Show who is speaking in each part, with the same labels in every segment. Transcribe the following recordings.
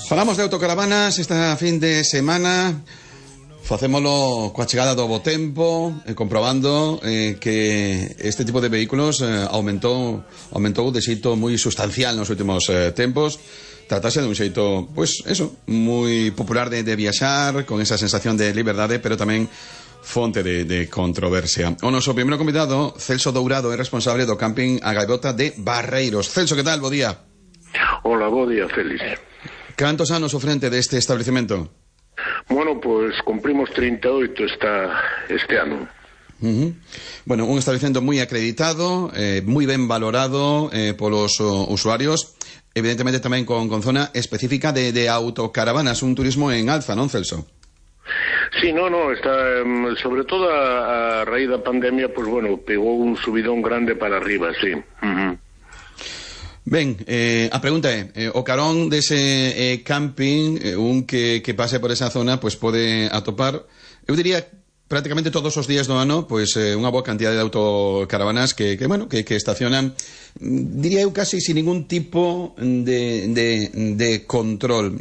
Speaker 1: Falamos de autocaravanas esta fin de semana. Facémolo coa chegada do bo tempo, comprobando que este tipo de vehículos aumentou de xeito moi sustancial nos últimos tempos. Tratase de un xeito, pois, eso, moi popular de viaxar, con esa sensación de liberdade, pero tamén fonte de controversia. O noso primeiro convidado, Celso Dourado, é responsable do camping A Gaivota de Barreiros. Celso, que tal? Bo día.
Speaker 2: Hola, bo día, Félix.
Speaker 1: Cantos anos ao frente deste establecemento?
Speaker 2: Bueno, pues cumprimos 38 este ano.
Speaker 1: Bueno, un establecemento moi acreditado, moi ben valorado polos usuarios, evidentemente tamén con zona específica de autocaravanas, un turismo en alza, non, Celso?
Speaker 2: Sí, no, está, sobre todo a raíz da pandemia, pues bueno, pegou un subidón grande para arriba, sí.
Speaker 1: Ben, a pregunta é, o carón dese camping, un que pase por esa zona, pois pode atopar, eu diría, prácticamente todos os días do ano, pois unha boa cantidad de autocaravanas que estacionan, diría eu, casi sin ningún tipo de control.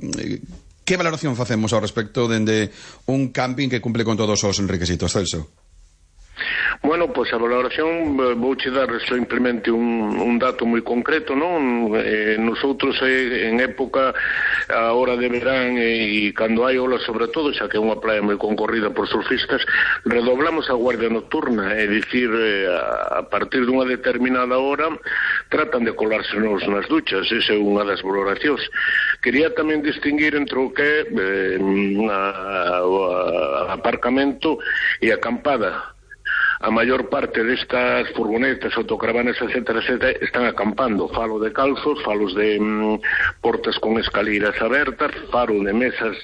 Speaker 1: Que valoración facemos ao respecto dende un camping que cumple con todos os requisitos, Celso?
Speaker 2: Bueno, pois a valoración vouche dar simplemente un dato moi concreto, non? Nosotros en época, a hora de verán e cando hai ola sobre todo, xa que é unha praia moi concorrida por surfistas, redoblamos a guardia nocturna, é dicir, a partir dunha determinada hora tratan de colársenos nas duchas, esa é unha das valoracións. Quería tamén distinguir entre o que é aparcamento e acampada. A maior parte destas furgonetas, autocaravanas, etcétera, están acampando. Falo de calzos, falos de portas con escaleras abertas, falo de mesas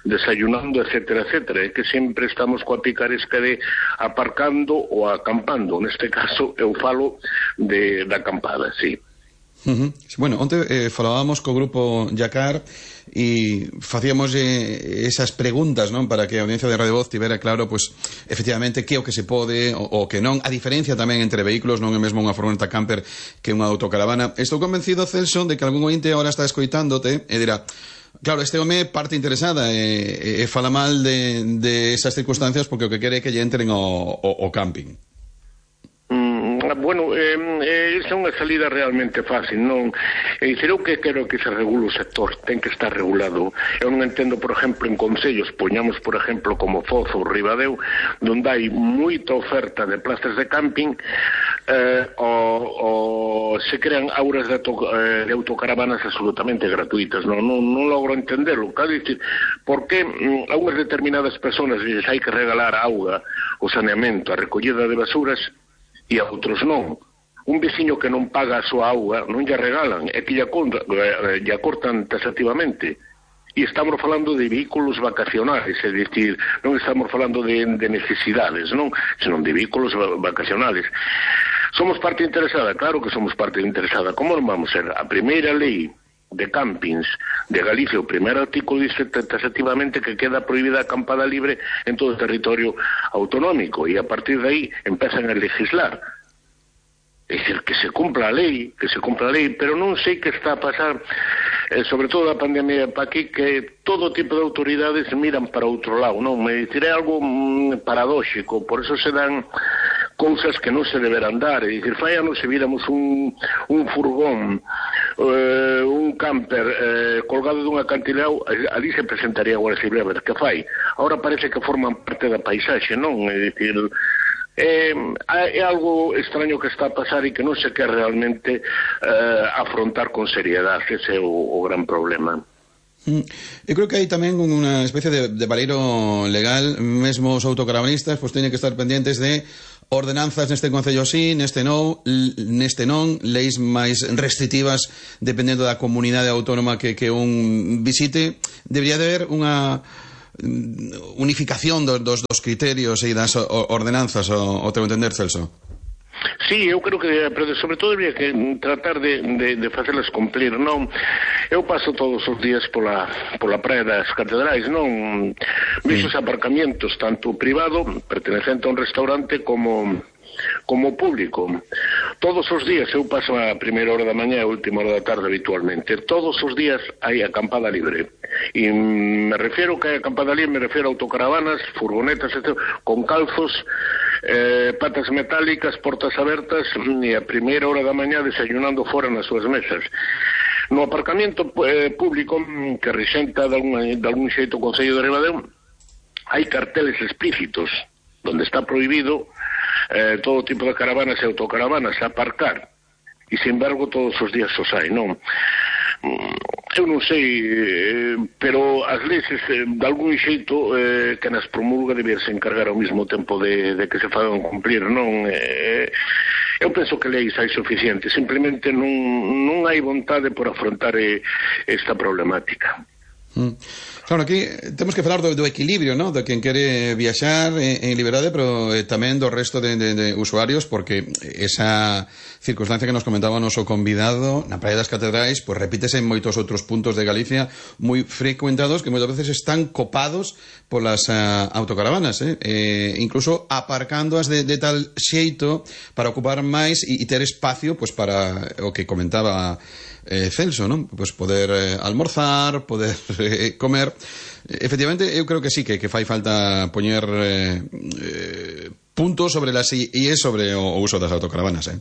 Speaker 2: desayunando, etcétera. É que sempre estamos coa picaresca de aparcando ou acampando. Neste caso, eu falo da acampada, sí.
Speaker 1: Bueno, onte falábamos co grupo Yacar e facíamos esas preguntas, non, para que a audiencia de Radio Voz tivera claro, pois, efectivamente, que o que se pode o que non, a diferencia tamén entre vehículos, non é mesmo unha furgoneta camper que unha autocaravana. Estou convencido, Celso, de que algún ointe ahora está escoitándote e dirá, claro, este home parte interesada e fala mal de esas circunstancias porque o que quere é que lle entren o camping.
Speaker 2: Bueno, esa é unha salida realmente fácil, non? É dicir, eu que quero que se regule o sector, ten que estar regulado. Eu non entendo, por exemplo, en concellos, poñamos, por exemplo, como Foz ou Ribadeo, donde hai moita oferta de plazas de camping, se crean auras de autocaravanas absolutamente gratuitas, non logro entenderlo. Quero dicir, por que a unhas determinadas personas lles hai que regalar auga, o saneamento, a recollida de basuras, e a outros non? Un veciño que non paga a súa auga non lle regalan, é que lle cortan taxativamente. E estamos falando de vehículos vacacionales, é dicir, non estamos falando de necesidades, non, senón de vehículos vacacionales. Somos parte interesada? Claro que somos parte interesada. Como non vamos ser? A primeira lei de campings de Galicia, o primeiro artículo dice taxativamente que queda prohibida a acampada libre en todo o territorio autonómico, e a partir de aí empezan a legislar. É dicir, que se cumpla a lei, pero non sei que está a pasar, sobre todo a pandemia pa aquí, que todo tipo de autoridades miran para outro lado, non? Me dicir, é algo paradóxico, por eso se dan cousas que non se deberán dar. É dicir, fai anos se víramos un furgón, un camper colgado dun acantilado, ali se presentaría a Guardia Civil a ver que fai. Ahora parece que forman parte da paisaxe, non? É dicir, é algo extraño que está a pasar e que non se quer realmente afrontar con seriedade. Ese é o gran problema.
Speaker 1: Eu creo que hai tamén unha especie de valeiro legal. Mesmo os autocaravanistas pois teñen que estar pendientes de ordenanzas neste concello sí, neste non, leis máis restrictivas dependendo da comunidade autónoma que un visite. Debería de haber unha unificación dos criterios e das ordenanzas, o teu entender, Celso?
Speaker 2: Sí, eu creo que, pero sobre todo habría que tratar de facelas cumplir, non? Eu paso todos os días pola praia das Catedrais, non? Vexo os aparcamientos, tanto privado, pertenecente a un restaurante, como público. Todos os días, eu paso a primeira hora da mañá e a última hora da tarde habitualmente, todos os días hai acampada libre, e me refiero que hai acampada libre, me refiero a autocaravanas, furgonetas, etc., con calzos, patas metálicas, portas abertas, e a primeira hora da mañá desayunando fora nas súas mesas. No aparcamento público que rexenta de algún xeito o Concello de Ribadeo, hai carteles explícitos onde está prohibido todo tipo de caravanas e autocaravanas aparcar, e sin embargo todos os días os hai, non? Eu non sei, pero as leis de algún xeito que nas promulga deberse encargar ao mesmo tempo de que se fagan cumplir, non? Eu penso que leis hai suficiente, simplemente non hai vontade por afrontar esta problemática.
Speaker 1: Claro, aquí temos que falar do equilibrio, ¿no? De quen quere viaxar en liberdade, pero tamén do resto de usuarios, porque esa circunstancia que nos comentaba o noso convidado na Praia das Catedrais, pues repítese en moitos outros puntos de Galicia moi frecuentados, que moitas veces están copados polas autocaravanas, incluso aparcándoas de tal xeito para ocupar máis e ter espacio, pues para o que comentaba Celso, non? Pues poder almorzar, poder comer. Efectivamente, eu creo que sí, que fai falta poñer puntos sobre las IES sobre o uso das autocaravanas,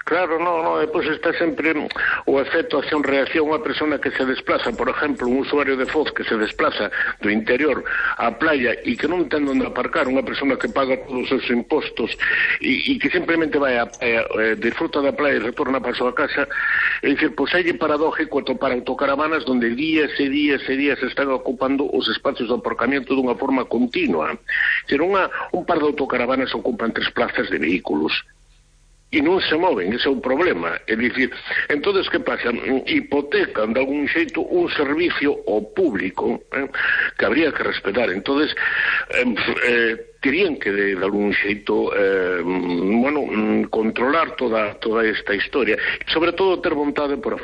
Speaker 2: Claro, no, depois está sempre o efecto acción-reacción. Unha persona que se desplaza, por exemplo, un usuario de Foz que se desplaza do interior á playa e que non ten onde aparcar, unha persona que paga todos os seus impostos e que simplemente vai a disfruta da playa e retorna para a súa casa, é dicir, pois é paradójico atopar autocaravanas donde días e días e días se están ocupando os espacios de aparcamiento dunha forma continua. É dicir, un par de autocaravanas ocupan 3 plazas de vehículos e non se moven, ese é o problema. É dicir, entonces que pasa? Hipotecan de algún xeito un servicio ao público que habría que respetar. Entonces terían que de algún xeito controlar toda esta historia, e sobre todo ter vontade por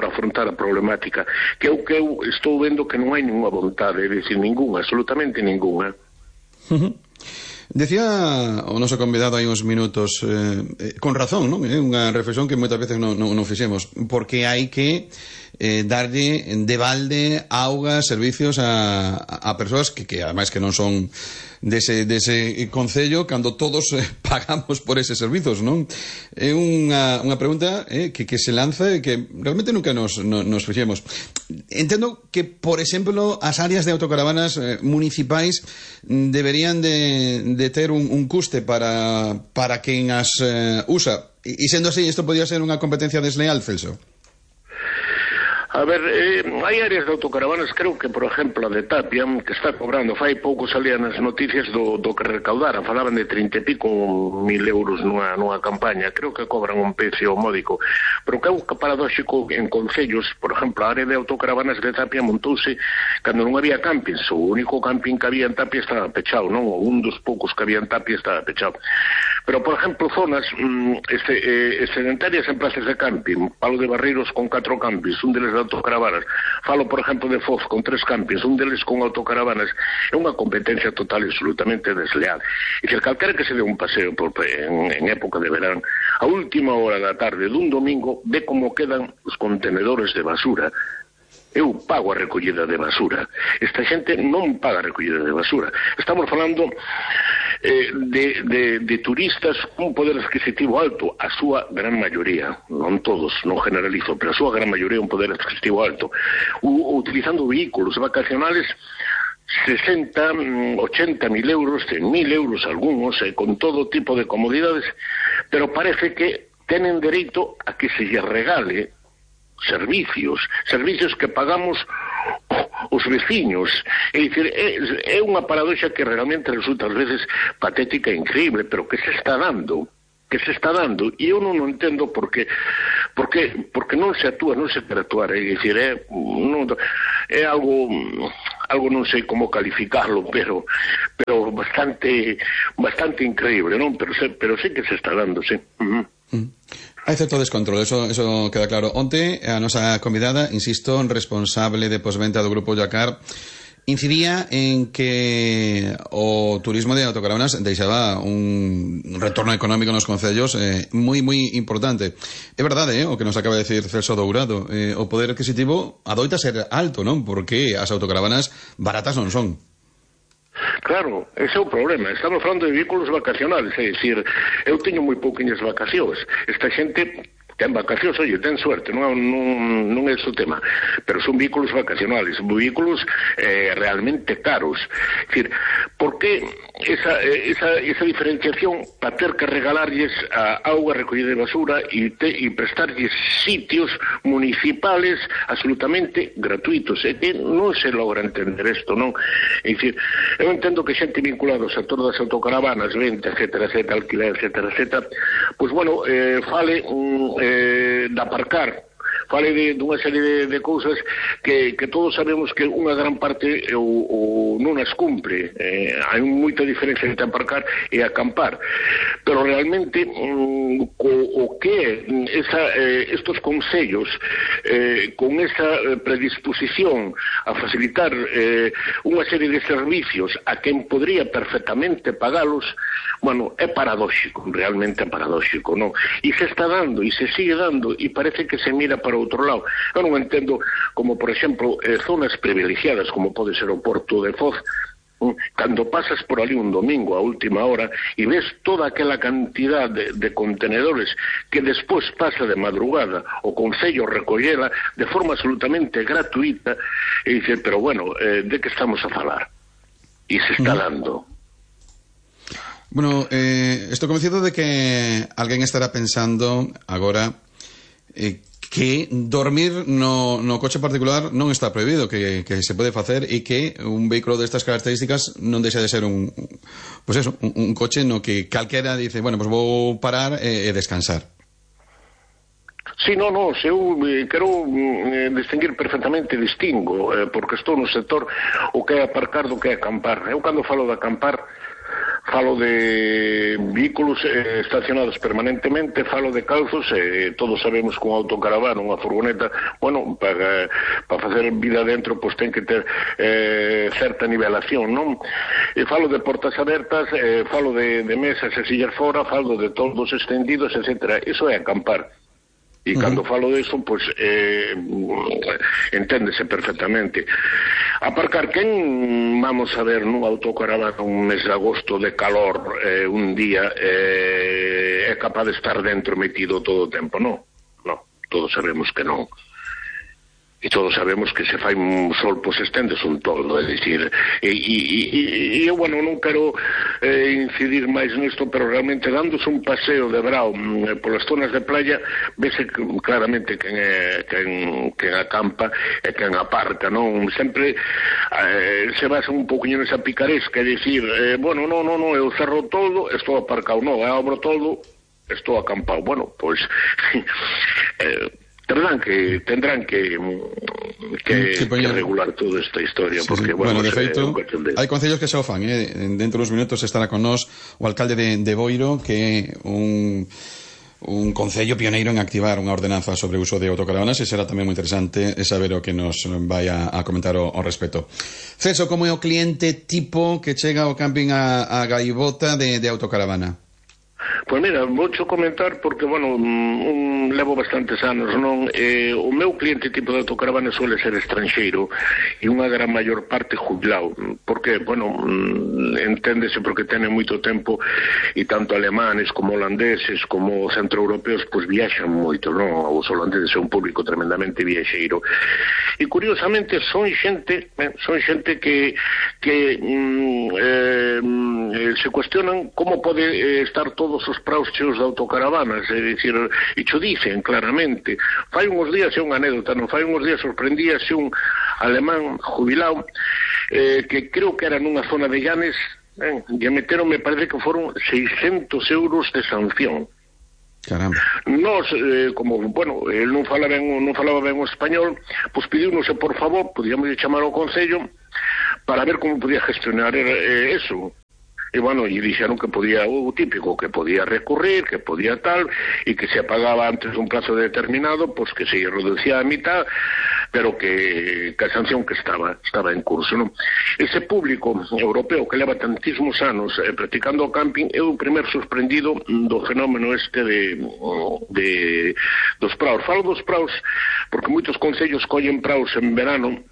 Speaker 2: afrontar a problemática, que é o que eu estou vendo que non hai ninguna vontade, é dicir, ninguna, absolutamente ninguna.
Speaker 1: Decía o noso convidado hai uns minutos, con razón, non? É unha reflexión que moitas veces non fixemos, porque hai que darlle de balde auga, servicios a persoas que ademais que non son dese concello, cando todos pagamos por eses servizos, non? É unha pregunta que se lanza e que realmente nunca nos fixemos. Entendo que, por exemplo, as áreas de autocaravanas municipais deberían de ter un custe para quen as usa, e sendo así, isto podría ser unha competencia desleal, Celso?
Speaker 2: A ver, hai áreas de autocaravanas, creo que, por exemplo, a de Tapia, que está cobrando, fai pouco salían as noticias do que recaudaran, falaban de 30 e pico mil euros nunha campaña, creo que cobran un precio módico, pero que é un paradóxico en concellos, por exemplo, a área de autocaravanas de Tapia montouse cando non había campings, o único camping que había en Tapia estaba pechado, non? O un dos poucos que había en Tapia estaba pechado. Pero, por exemplo, zonas excedentarias en plazas de camping, Palo de Barreiros con 4 campings, un deles de autocaravanas, falo, por exemplo, de Foz con 3 campings, un deles con autocaravanas, é unha competencia total e absolutamente desleal. E se calquera que se dé un paseo en época de verán, a última hora da tarde dun domingo, ve como quedan os contenedores de basura. Eu pago a recollida de basura. Esta xente non paga a recollida de basura. Estamos falando de turistas con poder adquisitivo alto, a súa gran maioría, non todos, non generalizo, pero a súa gran maioría un poder adquisitivo alto, utilizando vehículos vacacionales 60, 80 mil euros, 100 mil euros algunos, con todo tipo de comodidades, pero parece que tenen dereito a que se lle regale servicios que pagamos os veciños. É dicir, é unha paradoxa que realmente resulta ás veces patética e increíble, pero que se está dando, e eu non entendo porque non se actúa, non se quere actuar. É dicir, é algo non sei como calificarlo, pero bastante increíble, non? Pero sí que se está dando, sí.
Speaker 1: Hai certo descontrol, eso queda claro. Onte, a nosa convidada, insisto, responsable de posventa do Grupo Yacar, incidía en que o turismo de autocaravanas deixaba un retorno económico nos concellos moi importante. É verdade, o que nos acaba de decir Celso Dourado, o poder adquisitivo adoita ser alto, non? Porque as autocaravanas baratas non son.
Speaker 2: Claro, ese é o problema. Estamos falando de vehículos vacacionales, é dicir, eu teño moi pouquiñas vacacións. Esta xente ten vacacións, oye, ten suerte, non é ese o tema, pero son vehículos vacacionales, vehículos realmente caros. É dicir, por que esa diferenciación para ter que regalarlles a auga recollida de basura e prestarlles sitios municipales absolutamente gratuitos? É que non se logra entender isto, non? É dicir, eu entendo que xente vinculada ao sector das autocaravanas, venta, etcétera, alquiler, etcétera, pois, bueno, fale de aparcar, fale dunha serie de cousas que todos sabemos que unha gran parte non as cumpre. Hai moita diferencia entre aparcar e acampar, pero realmente o que estos concellos con esa predisposición a facilitar unha serie de servicios a quen podría perfectamente pagalos, bueno, é paradóxico, realmente é paradóxico, non? E se está dando, e se sigue dando, e parece que se mira para outro lado. Eu non entendo como, por exemplo, zonas privilegiadas, como pode ser o Porto de Foz, cando pasas por ali un domingo a última hora e ves toda aquela cantidad de contenedores que despois pasa de madrugada o Concello recollela de forma absolutamente gratuita, e dice, pero bueno, de que estamos a falar? E se está dando.
Speaker 1: Bueno, estou convencido de que alguén estará pensando agora que dormir no coche particular non está prohibido, que se pode facer e que un vehículo destas características non deixa de ser un coche no que calquera dice, bueno, pues vou parar e descansar.
Speaker 2: Sí, eu quero distinguir perfectamente, distingo, porque estou no sector o que é aparcar do que é acampar. Eu cando falo de acampar falo de vehículos estacionados permanentemente, falo de calzos, todos sabemos que un autocaravana, unha furgoneta, bueno, para facer vida dentro, pois ten que ter certa nivelación, non? E falo de portas abertas, falo de mesas e sillas fora, falo de toldos extendidos, etcétera. Iso é acampar. E cando falo disso, pois enténdese perfectamente. Aparcar, quen vamos a ver nun autocaravana un mes de agosto de calor un día é capaz de estar dentro metido todo o tempo? Non, todos sabemos que non. E todos sabemos que se fai un sol, pois estendes un toldo, é dicir, e eu, bueno, non quero incidir máis nisto, pero realmente dándose un paseo de brao polas zonas de playa, vese claramente quen acampa e quen aparca, non? Sempre se basa un poquinho nesa picaresca, é dicir, bueno, non, eu cerro todo, estou aparcado, non, eu abro todo, estou acampado. Bueno, pois tendrán que regular toda esta historia, porque, bueno,
Speaker 1: de feito, hai concellos que xa o fan, dentro dos minutos estará con nós o alcalde de Boiro, que é un concello pioneiro en activar unha ordenanza sobre o uso de autocaravanas, e será tamén moi interesante saber o que nos vai a comentar ao respecto. Celso, como é o cliente tipo que chega ao camping a Gaivota de autocaravana?
Speaker 2: Pois mira, voucho comentar porque, bueno, levo bastantes anos, non? O meu cliente tipo de autocaravana suele ser estranxeiro e unha gran maior parte jubilado, porque, bueno, enténdese porque tenen moito tempo e tanto alemanes como holandeses como centroeuropeos pois viaxan moito, non? Os holandeses é un público tremendamente viaxeiro e curiosamente son xente que se cuestionan como pode estar todos os praos cheos de autocaravanas, é dicir, e xo dicen claramente. Fai uns días, é unha anécdota, non? Fai uns días sorprendíase un alemán jubilado que creo que era nunha zona de Llanes, e meteron, me parece que foron 600 euros de sanción.
Speaker 1: Caramba.
Speaker 2: Nos, como, bueno, el non falaba ben o español, pois pediunos, por favor, podíamos chamar ao Concello para ver como podía gestionar eso. E, bueno, e dixeron que podía, o típico, que podía recurrir, que podía tal, e que se pagaba antes un plazo determinado, pois que se reducía a mitad, pero que a sanción que estaba en curso, non? Ese público europeo que leva tantísimos anos practicando o camping é o primer sorprendido do fenómeno este dos praos. Falo dos praos porque moitos concellos collen praos en verano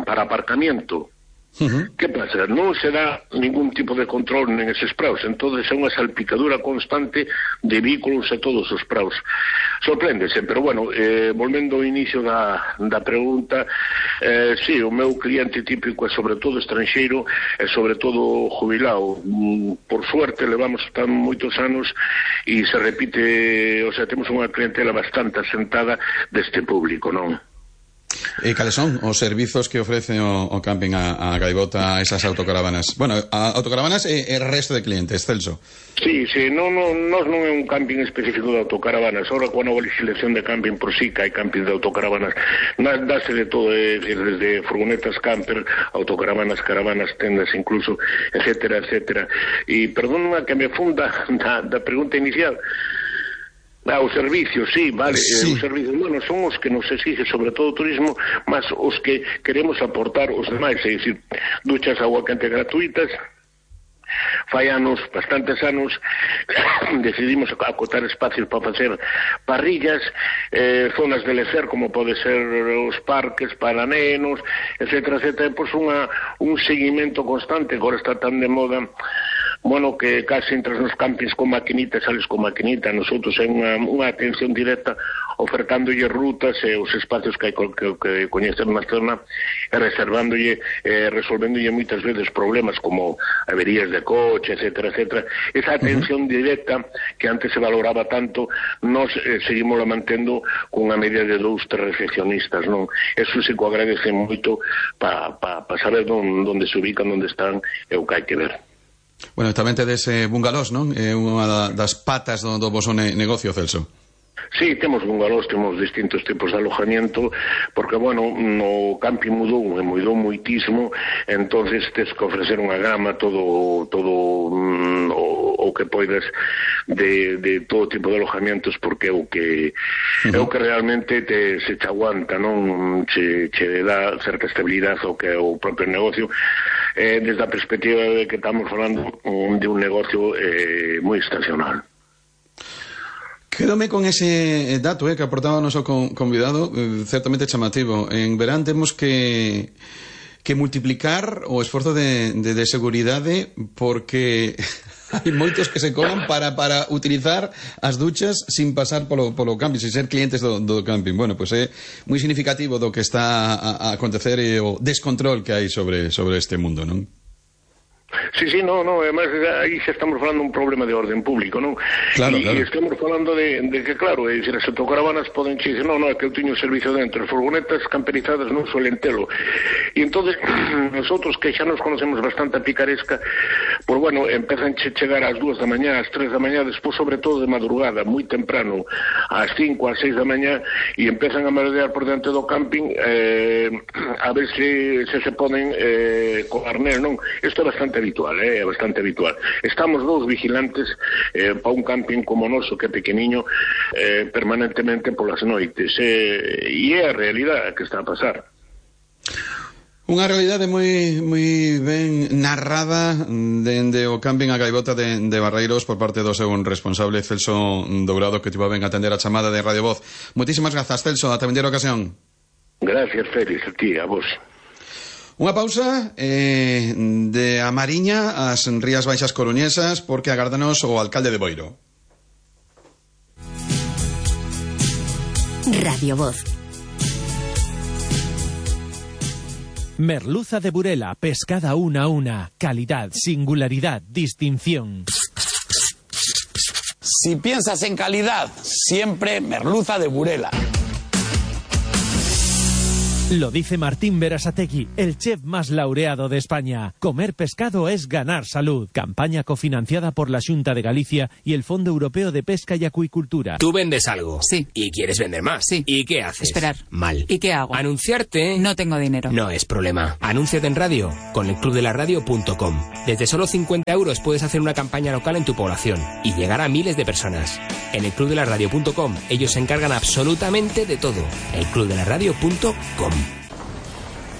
Speaker 2: para aparcamiento. Que pasa? Non se dá ningún tipo de control en eses praos, entonces é unha salpicadura constante de vehículos a todos os praos. Sorpréndese, pero bueno, volvendo ao inicio da pregunta, sí, o meu cliente típico é sobre todo estranxeiro e sobre todo jubilado. Por suerte levamos tan moitos anos e se repite, o sea, temos unha clientela bastante asentada deste público, non?
Speaker 1: E cales son os servizos que ofrece o camping a Gaivota, esas autocaravanas? Bueno, a autocaravanas e o resto de clientes, Celso.
Speaker 2: Sí, non é un camping específico de autocaravanas. Ahora, con a legislación de camping por sí, que hai camping de autocaravanas, dáse de todo, desde furgonetas camper, autocaravanas, caravanas, tendas incluso, etcétera, etcétera. E perdóname que me funda da pregunta inicial. Os servicios, sí, vale, sí. Os servicios, bueno, son os que nos exige sobre todo o turismo, mas os que queremos aportar os demais, é dicir, duchas agua quente gratuitas. Fai anos, bastantes anos, decidimos acotar espacios para facer parrillas, zonas de lecer, como pode ser os parques para nenos, etcétera, etcétera, pois un seguimento constante, agora está tan de moda. Bueno, que casi entras nos campings con maquinita, sales con maquinita. Nosotros é unha atención directa ofertándolle rutas e os espacios que coñecer na zona e reservándolle, resolvéndolle moitas veces problemas como averías de coche, etcétera, etcétera. Esa atención directa que antes se valoraba tanto, nos seguimos mantendo cunha media de 2-3 recepcionistas, non? Eso se co agradece moito para saber onde se ubican, onde están e o que hai que ver.
Speaker 1: Bueno, tamén tedes bungalós, non? É unha das patas do voso negocio, Celso.
Speaker 2: Sí, temos bungalós, temos distintos tipos de alojamiento, porque, bueno, no camping mudou moitísimo, entonces tes que ofrecer unha gama, todo o que poidas de todo tipo de alojamientos, porque é o que realmente se te aguanta, non? Che dá certa estabilidade ao que é o propio negocio, desde a perspectiva de que estamos falando de un negocio moi estacional.
Speaker 1: Quédome con ese dato que aportaba o noso convidado, certamente chamativo. En verán temos que multiplicar o esforzo de seguridade, porque hai moitos que se colan para utilizar as duchas sin pasar polo camping, sin ser clientes do camping. Bueno, pois é moi significativo do que está a acontecer e o descontrol que hai sobre este mundo, non?
Speaker 2: Sí, non, además aí xa estamos falando un problema de orden público, non?
Speaker 1: Claro.
Speaker 2: E estamos falando de que, claro, é dicir, as autocaravanas poden dicir, non, é que eu teño servicio dentro, as furgonetas camperizadas non suelen telo. E entonces, nosotros que xa nos conocemos bastante a picaresca, pois, bueno, empezan a chegar ás 2 da mañá, ás 3 da mañá, despois, sobre todo de madrugada, moi temprano, ás 5, ás 6 da mañá, e empezan a merodear por dentro do camping a ver se poden coarner, non? Isto é bastante habitual, é bastante habitual. Estamos dous vigilantes para un camping como o noso, que é pequeniño, permanentemente polas noites, e é a realidade que está a pasar.
Speaker 1: Unha realidade moi ben narrada dende o camping a Gaivota de Barreiros por parte do seu responsable, Celso Dourado, que tivo ben atender a chamada de Radio Voz. Moitísimas grazas, Celso, ata vender a ocasión.
Speaker 2: Gracias, Félix, a ti, a vos.
Speaker 1: Unha pausa de a Mariña ás Rías Baixas coruñesas, porque agárdanos o alcalde de Boiro.
Speaker 3: Radio Voz.
Speaker 4: Merluza de Burela, pescada una a una, calidad, singularidad, distinción.
Speaker 5: Si piensas en calidad, siempre merluza de Burela.
Speaker 4: Lo dice Martín Berasategui, el chef más laureado de España. Comer pescado es ganar salud. Campaña cofinanciada por la Xunta de Galicia y el Fondo Europeo de Pesca y Acuicultura.
Speaker 3: Tú vendes algo.
Speaker 5: Sí.
Speaker 3: ¿Y quieres vender más?
Speaker 5: Sí.
Speaker 3: ¿Y qué haces?
Speaker 5: Esperar.
Speaker 3: Mal.
Speaker 5: ¿Y qué hago?
Speaker 3: Anunciarte.
Speaker 5: No tengo dinero.
Speaker 3: No es problema. Anúnciate en radio con elclubdelaradio.com. Desde solo 50 euros puedes hacer una campaña local en tu población y llegar a miles de personas. En elclubdelaradio.com ellos se encargan absolutamente de todo. elclubdelaradio.com.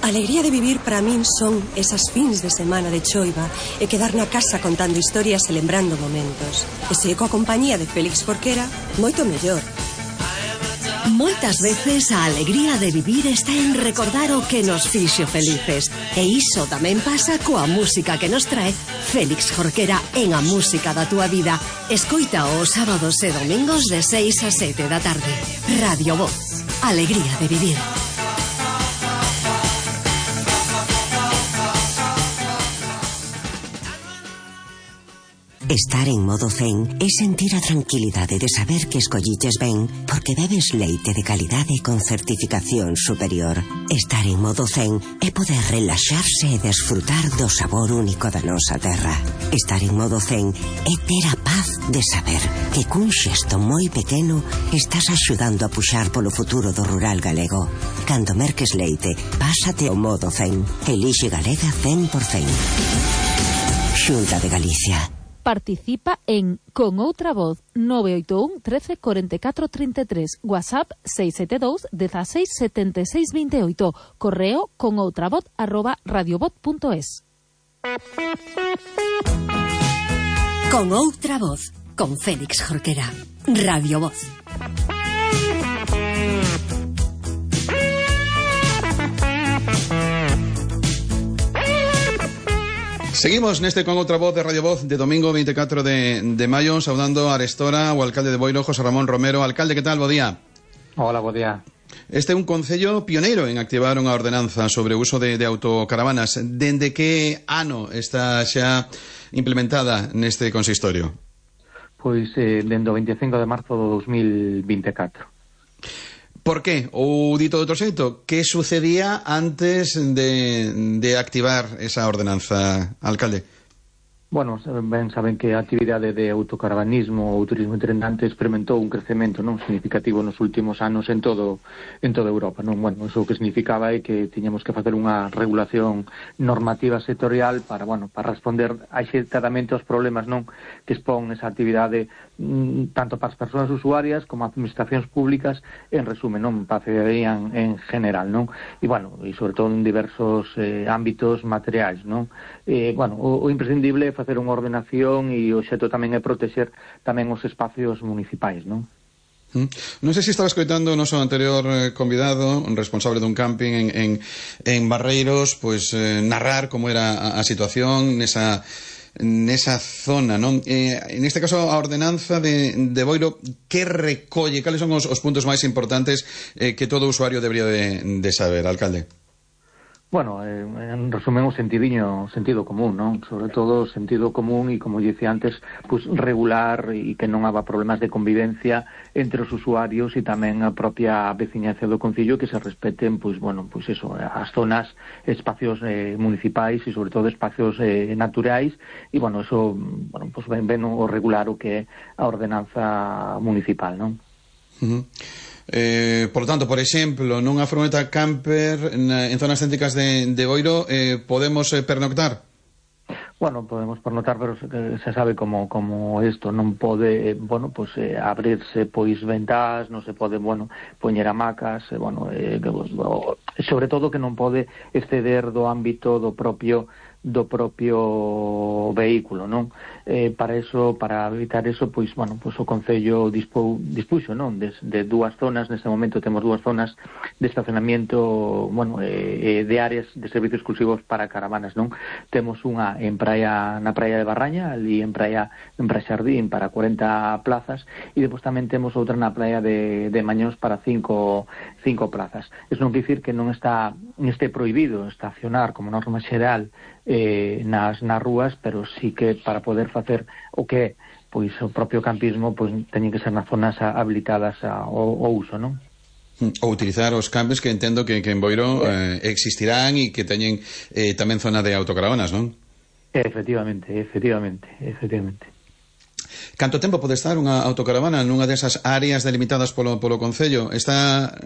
Speaker 6: Alegría de vivir para min son esas fins de semana de choiva e quedar na casa contando historias e lembrando momentos. E se coa compañía de Félix Jorquera, moito mellor.
Speaker 7: Moitas veces a alegría de vivir está en recordar o que nos fixo felices. E iso tamén pasa coa música que nos trae Félix Jorquera en A Música da Túa Vida. Escoita os sábados e domingos de 6 a 7 da tarde. Radio Voz. Alegría de vivir.
Speaker 8: Estar en modo zen é sentir a tranquilidade de saber que escolliches ben porque bebes leite de calidade con certificación superior. Estar en modo zen é poder relaxarse e desfrutar do sabor único da nosa terra. Estar en modo zen é ter a paz de saber que cun xesto moi pequeno estás axudando a puxar polo futuro do rural galego. Cando merques leite, pásate ao modo zen. Elixe Galega 100%. Xunta de Galicia.
Speaker 9: Participa en Con Outra Voz 981 13 44 33, WhatsApp 672 16 76 28, correo conoutravoz@radiovoz.es.
Speaker 7: Con Outra Voz, con Félix Jorquera. Radio Voz.
Speaker 1: Seguimos neste Con Outra Voz de Radio Voz de domingo 24 de maio, saudando a Arestora, o alcalde de Boiro, José Ramón Romero. Alcalde, que tal? Bo día.
Speaker 10: Hola, bo día.
Speaker 1: Este é un concello pioneiro en activar unha ordenanza sobre o uso de autocaravanas. Dende que ano está xa implementada neste consistorio?
Speaker 10: Pois dende o 25 de marzo do 2024.
Speaker 1: Por qué? Ou dito de outro xeito, que sucedía antes de activar esa ordenanza, alcalde?
Speaker 10: Bueno, ben saben que a actividade de autocaravanismo ou turismo itinerante experimentou un crecemento non significativo nos últimos anos en toda Europa, non? Bueno, iso que significaba é que tiñamos que facer unha regulación normativa sectorial para responder axeitadamente aos problemas, non, que expón esa actividade tanto para as persoas usuarias como as administracións públicas, en resumen, non, para a cidadanía en general, non? E sobre todo en diversos ámbitos materiais, non? O imprescindible é facer unha ordenación e o xeito tamén é protexer tamén os espacios municipais, non?
Speaker 1: Non sei se estaba escoitando o noso anterior convidado, responsable dun camping en Barreiros, pois narrar como era a situación nesa zona, non? En este caso, a ordenanza de Boiro, que recolle? Cales son os puntos máis importantes que todo usuario debería de saber, alcalde?
Speaker 10: Bueno, en resumen, o sentido común, non? Sobre todo o sentido común e, como dicía antes, pues regular e que non haga problemas de convivencia entre os usuarios e tamén a propia veciñanza do concello, que se respeten, as zonas, espacios municipais e sobre todo espacios naturais e, ven o regular o que é a ordenanza municipal, non?
Speaker 1: Por lo tanto, por exemplo, nunha furgoneta camper en zonas céntricas de Boiro podemos pernoctar?
Speaker 10: Bueno, podemos pernoctar, pero se sabe como isto non pode, abrirse ventás, non se pode, poñer hamacas, sobre todo que non pode exceder do ámbito do propio vehículo, non? Para evitar eso, o Concello dispuxo, non? De dúas zonas, neste momento temos dúas zonas de estacionamiento, de áreas de servicios exclusivos para caravanas, non? Temos unha na praia de Barraña, ali en praia Xardín, para 40 plazas, e depois tamén temos outra na praia de Mañós para 5 plazas. Eso non quer dicir que non este prohibido estacionar como norma xeral nas rúas, pero sí que para poder facer o que o propio campismo teñen que ser nas zonas habilitadas ao uso, non?
Speaker 1: Ou utilizar os campes que entendo que en Boiro existirán e que teñen tamén zona de autocaravanas, non?
Speaker 10: Efectivamente.
Speaker 1: Canto tempo pode estar unha autocaravana nunha desas áreas delimitadas polo Concello? Está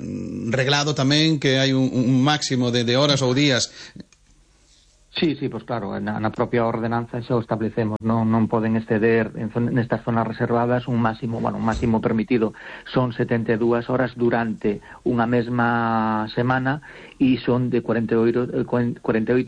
Speaker 1: reglado tamén que hai un máximo de horas ou días?
Speaker 10: Sí, pois claro, na propia ordenanza xa o establecemos, non poden exceder nestas zonas reservadas un máximo permitido son 72 horas durante unha mesma semana e son de 48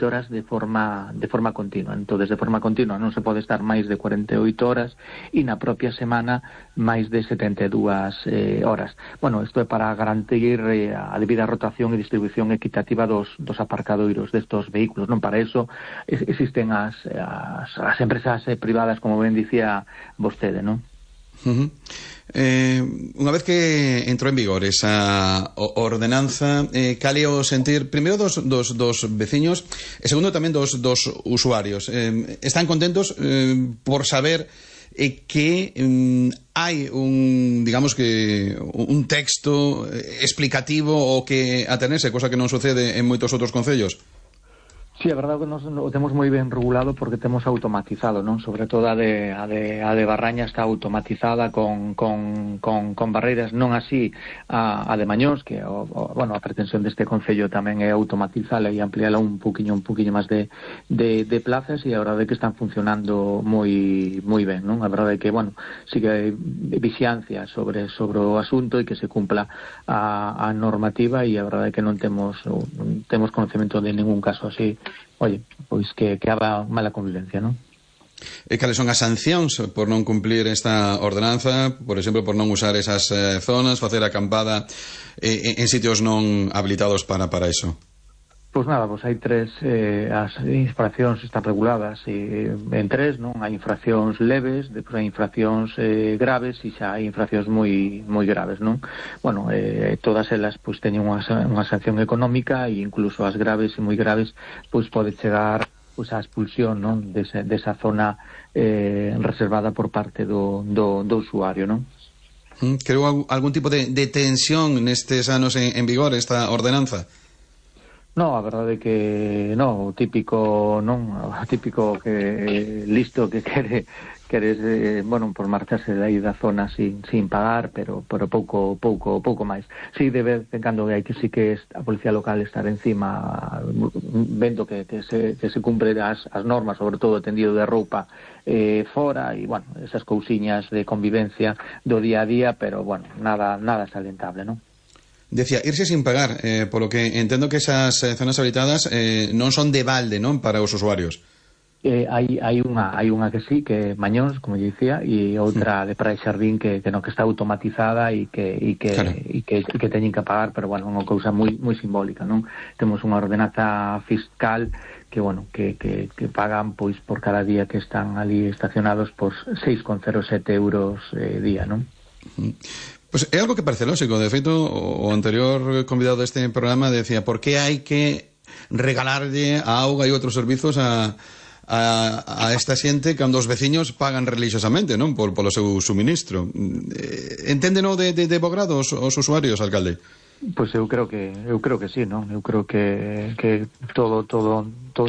Speaker 10: horas de forma continua. Entonces, de forma continua non se pode estar máis de 48 horas e na propia semana máis de 72 horas. Bueno, isto é para garantir a debida rotación e distribución equitativa dos aparcadoiros destos vehículos, non? Para eso existen as empresas privadas, como ben dicía vostede, non?
Speaker 1: Unha vez que entrou en vigor esa ordenanza, cal é o sentir primeiro dos veciños e segundo tamén dos usuarios? Están contentos por saber que hai un texto explicativo o que atenerse, cosa que non sucede en moitos outros concellos?
Speaker 10: Sí, a verdade que nos o temos moi ben regulado porque temos automatizado, non? Sobre todo a de Barraña está automatizada con barreiras, non así a de Mañós, que a pretensión deste concello tamén é automatizala e ampliala un poquinho máis de plazas, e a verdade é que están funcionando moi ben, non? A verdade é que, sí que hai vixiancia sobre o asunto e que se cumpla a normativa, e a verdade é que non temos conocemento de ningún caso así. Oye, pois que haga mala convivencia, non?
Speaker 1: E cales son as sancións por non cumplir esta ordenanza? Por exemplo, por non usar esas zonas, facer acampada en sitios non habilitados para iso?
Speaker 10: Pois nada, hai tres, as infraccións están reguladas en tres, non? Hai infraccións leves, depois hai infraccións graves e xa hai infraccións moi graves, non? Todas elas pois teñen unha sanción económica, e incluso as graves e moi graves pois pode chegar pois a expulsión, non? Desa zona reservada por parte do usuario, non?
Speaker 1: Creo algún tipo de tensión nestes anos en vigor esta ordenanza?
Speaker 10: No, a verdade é que o típico que listo que queres por marcharse de aí da zona sin pagar, pero pouco máis. Si, de vez en cando hai que sí que a policía local estar encima vendo que se cumpre as normas, sobre todo tendido de roupa fora, e esas cousiñas de convivencia do día a día, pero nada salientable, non?
Speaker 1: Decía, irse sin pagar, polo que entendo que esas zonas habilitadas non son de balde, non, para os usuarios.
Speaker 10: Hai unha que sí, que é Mañóns, como lle dicía, e outra de Praia Xardín que está automatizada e que teñen que pagar, pero é unha cousa moi simbólica, non? Temos unha ordenanza fiscal que pagan pois por cada día que están ali estacionados por 6,07 euros día, non?
Speaker 1: Pois é algo que parece lógico. De feito, o anterior convidado deste programa decía, por que hai que regalarlle a auga e outros servizos a esta xente cando os veciños pagan religiosamente, non? Polo seu suministro. Enténdeno de bo grado os usuarios, alcalde?
Speaker 10: Pois eu creo que sí, non? Eu creo que todo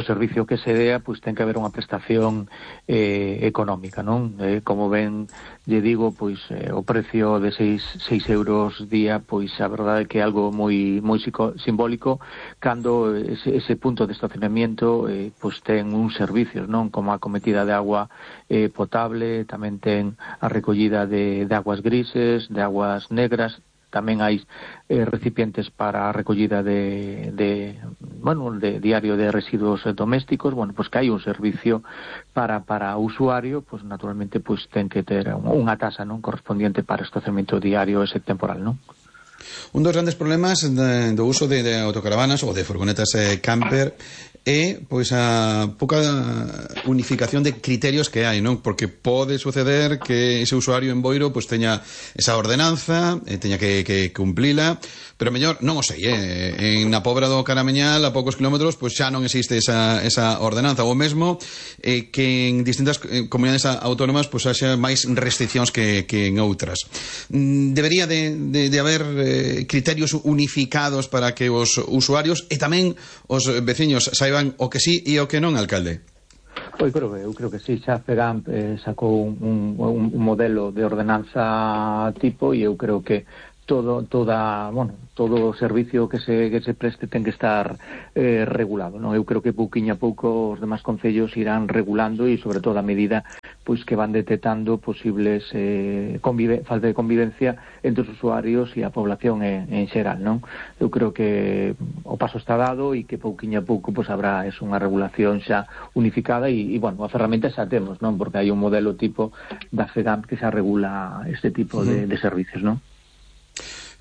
Speaker 10: servicio que se dea, pois ten que haber unha prestación económica, non? Como ben lle digo, pois o precio de 6 euros día, pois a verdade é que é algo moi simbólico cando ese punto de estacionamiento pois ten uns servicios, non? Como a cometida de agua potable, tamén ten a recollida de aguas grises, de aguas negras. Tamén hai recipientes para a recollida de diario de residuos domésticos. Pois que hai un servicio para o usuario, pois naturalmente pois ten que ter unha tasa, non, correspondiente para o estacionamento diario ese temporal, non?
Speaker 1: Un dos grandes problemas do uso de autocaravanas ou de furgonetas camper é pois a pouca unificación de criterios que hai, non? Porque pode suceder que ese usuario en Boiro pois teña esa ordenanza, teña que cumplila, pero mellor, non o sei, en na Pobra do Caramiñal, a poucos kilómetros, pois xa non existe esa ordenanza, ou mesmo que en distintas comunidades autónomas pois haxa máis restriccións que en outras. Debería de haber criterios unificados para que os usuarios e tamén os veciños saiban o que sí e o que non, alcalde.
Speaker 10: Pois eu creo que sí, xa FEGAMP sacou un modelo de ordenanza tipo e eu creo que todo o servicio que se preste ten que estar regulado, non? Eu creo que pouquiño a pouco os demais concellos irán regulando e sobre todo a medida pois que van detectando posibles falta de convivencia entre os usuarios e a población en xeral, non? Eu creo que o paso está dado e que pouquiño a pouco pois habrá unha regulación xa unificada e bueno, a ferramenta xa temos, non? Porque hai un modelo tipo da FEGAMP que xa regula este tipo de servicios, non?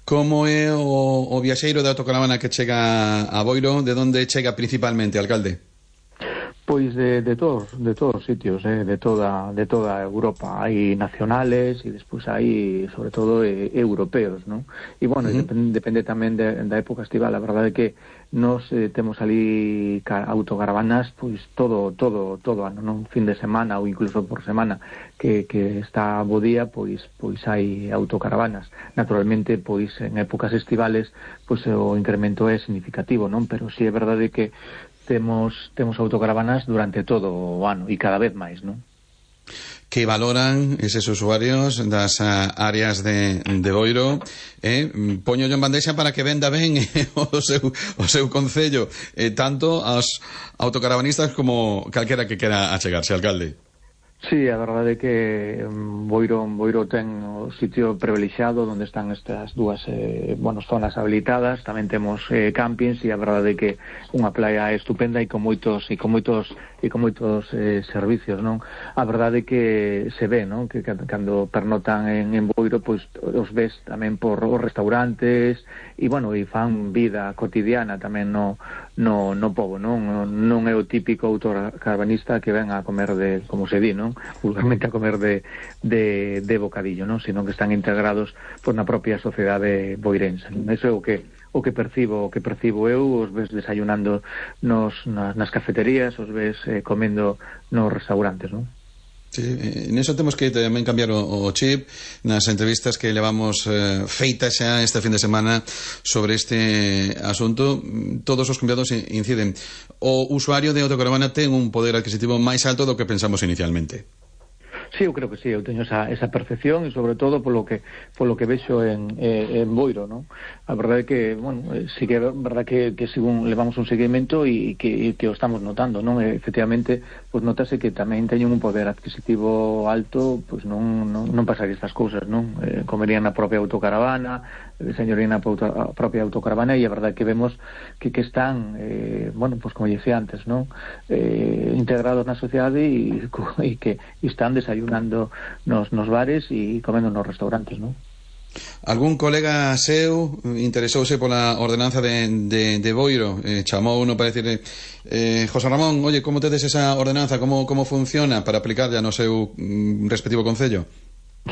Speaker 1: Como é o viaxeiro de autocaravana que chega a Boiro? De onde chega principalmente, alcalde?
Speaker 10: Pois de todos os sitios, de toda Europa. Hai nacionales e despois hai, sobre todo, europeos, non? E, bueno, depende tamén da época estival. A verdade é que nos temos ali autocaravanas pois todo ano, non? Fin de semana ou incluso por semana que está bo día, pois hai autocaravanas. Naturalmente, pois en épocas estivales pois o incremento é significativo, non? Pero si é verdade que temos autocaravanas durante todo o ano e cada vez máis, non?
Speaker 1: Que valoran eses usuarios das áreas de Boiro, poño yo en bandexa para que venda ben o seu concello, tanto aos autocaravanistas como calquera que quera achegarse, alcalde.
Speaker 10: Sí, a verdade é que Boiro ten o sitio privilexiado onde están estas dúas zonas habilitadas. Tamén temos campings e a verdade é que unha playa estupenda e con moitos servicios, non? A verdade é que se ve, non? Que cando pernotan en Boiro, pois os ves tamén por os restaurantes e fan vida cotidiana tamén no pobo, non? Non é o típico autocaravanista que ven a comer como se di, non? Vulgarmente a comer de bocadillo, non? Sino que están integrados na propia sociedade boirense. Eso é o que percibo eu. Os ves desayunando nas cafeterías, os ves comendo nos restaurantes, non?
Speaker 1: Sí, neso temos que tamén cambiar o chip nas entrevistas que levamos feitas xa este fin de semana sobre este asunto. Todos os convidados inciden. O usuario de autocaravana ten un poder adquisitivo máis alto do que pensamos inicialmente.
Speaker 10: Sí, eu creo que sí, eu teño esa percepción e sobre todo polo que vexo en Boiro, non? A verdade é que, sí que é verdade que según levamos un seguimento e que o estamos notando, non? Efectivamente, pois notase que tamén teñen un poder adquisitivo alto, pois non pasar estas cousas, non? Comerían na propia autocaravana, señorían na propia autocaravana e a verdade que vemos que están, pois como dicía antes, non? Integrados na sociedade e que están desayunando nos bares e comendo nos restaurantes, non?
Speaker 1: Algún colega seu interesouse pola ordenanza de Boiro, chamou uno para decirle José Ramón, oye, como tedes esa ordenanza, como funciona para aplicarla no seu respectivo concello?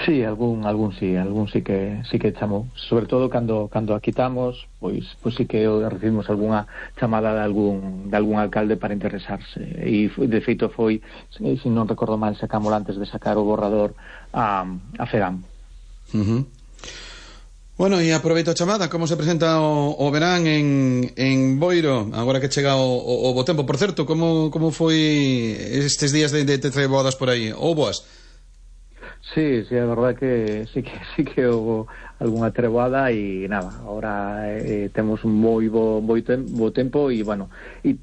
Speaker 10: Sí, algún sí que chamou, sobre todo cando a quitamos, pois sí que recibimos algunha chamada de algún alcalde para interesarse e de feito foi, se non recordo mal, sacámoslo antes de sacar o borrador a FEGAMP.
Speaker 1: Bueno, e aproveito a chamada. Como se presenta o verán en Boiro agora que chega o bo tempo? Por certo, como foi estes días de treboadas por aí? Ou boas?
Speaker 10: Sí, a verdade que sí que houve algunha treboada e nada, agora temos un moi bo tempo e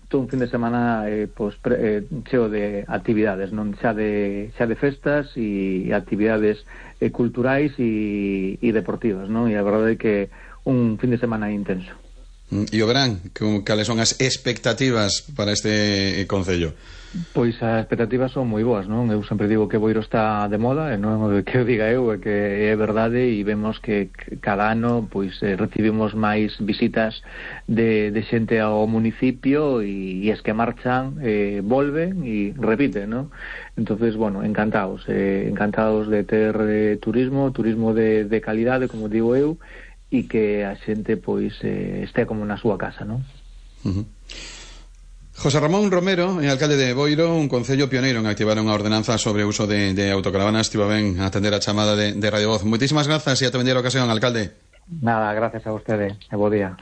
Speaker 10: todo un fin de semana cheo de actividades, non xa de festas e actividades culturais e deportivas, non? E a verdade é que un fin de semana intenso.
Speaker 1: E o verán, cales son as expectativas para este concello?
Speaker 10: Pois as expectativas son moi boas, non? Eu sempre digo que Boiro está de moda, e non é que o diga eu, é que é verdade, e vemos que cada ano pois recibimos máis visitas de xente ao municipio, e es que marchan, volven e repiten, non? Entonces, bueno, encantados de ter turismo de calidade, como digo eu, e que a xente pois este como na súa casa, non?
Speaker 1: José Ramón Romero, alcalde de Boiro, un concello pioneiro en activar unha ordenanza sobre o uso de autocaravanas. Estivo ben atender a chamada de Radio Voz. Moitísimas grazas e ata vendera ocasión, alcalde.
Speaker 10: Nada, gracias a vostede e bo día.